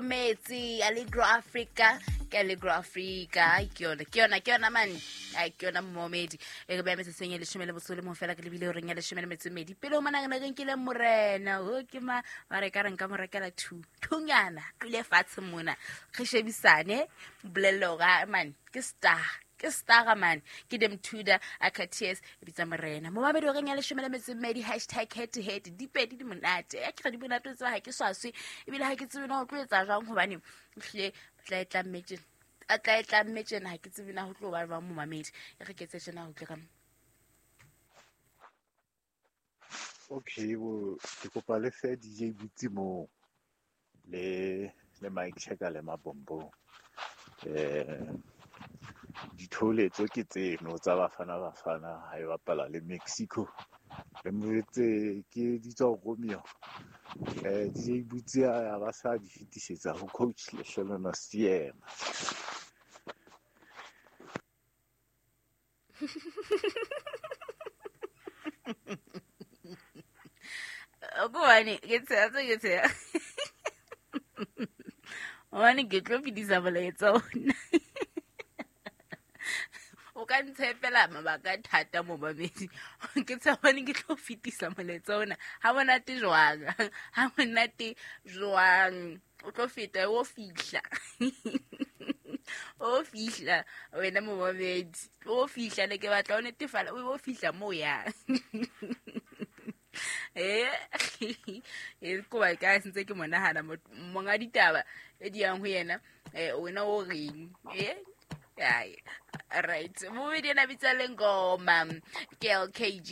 Metsi Allegro Africa, ke Allegro Africa. Ai, ke yona, ke yona, ke yona man. Ai, ke yona momedi e re beya metsotsong e leshome le botso le mong fela, ke lebile horeng ya 12. Pele ho mona re ne re nkile morena o ke ma ba re ka re nka mo rekela two thunyana tlile fatshe mona, re shebisane, bolelle hore ah, man, ke star, ke stara man, ke dem tuda akaties e bitsa morena momamedi horeng ya 12. Hashtag head to head, dipedi di monate ya ke re di monate o tseba ga ke swaswe, ebile ga ke tsebe na go tlo etsa jwang, gobane ehlile tla e tlamme tjena, a tla e tlamme tjena, ga ke tsebe na go tlo ba jwang. Momamedi e re ketse tjena go tle ka Okay bo, ke kopa le fe DJ Butsi moo le mic checker le mabombong. Ditholetso ke tseno tsa Bafana Bafana ha e bapala le Mexico. Le mo ke di tswa Romeo. DJ Butsi a ba sa di fetisetsa ho coach Lehlohono Seema. Gobane ke tsheya tse ke tsheya gobane ke tlo fetisa molaetsa ona, o ka ntshepela mabaka thata momamedi. Ke tsheya gobane ke tlo fetisa molaetsa ona ga monate jwang, ga monate jwang. O tlo feta, o fihla, o fihla wena momamedi, o fihla ne ke batla o netefala, o fihla mo yang. E koba ka sentse ke monagana monga ditaba e di yang ho yena, wena o reng? Ai, right, momedi ena bitsa le ngoma ke LKG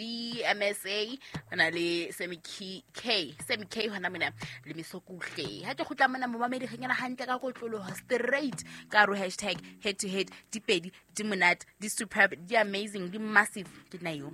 MSA na le Semi K, K Semi K hona mona le Mesokuhle. Ha ke kgutla mona momamedi, re kena hantle ka kotloloho straight ka ro hashtag head to head, dipedi di monate, di superb, di amazing, di massive, ke nna yo.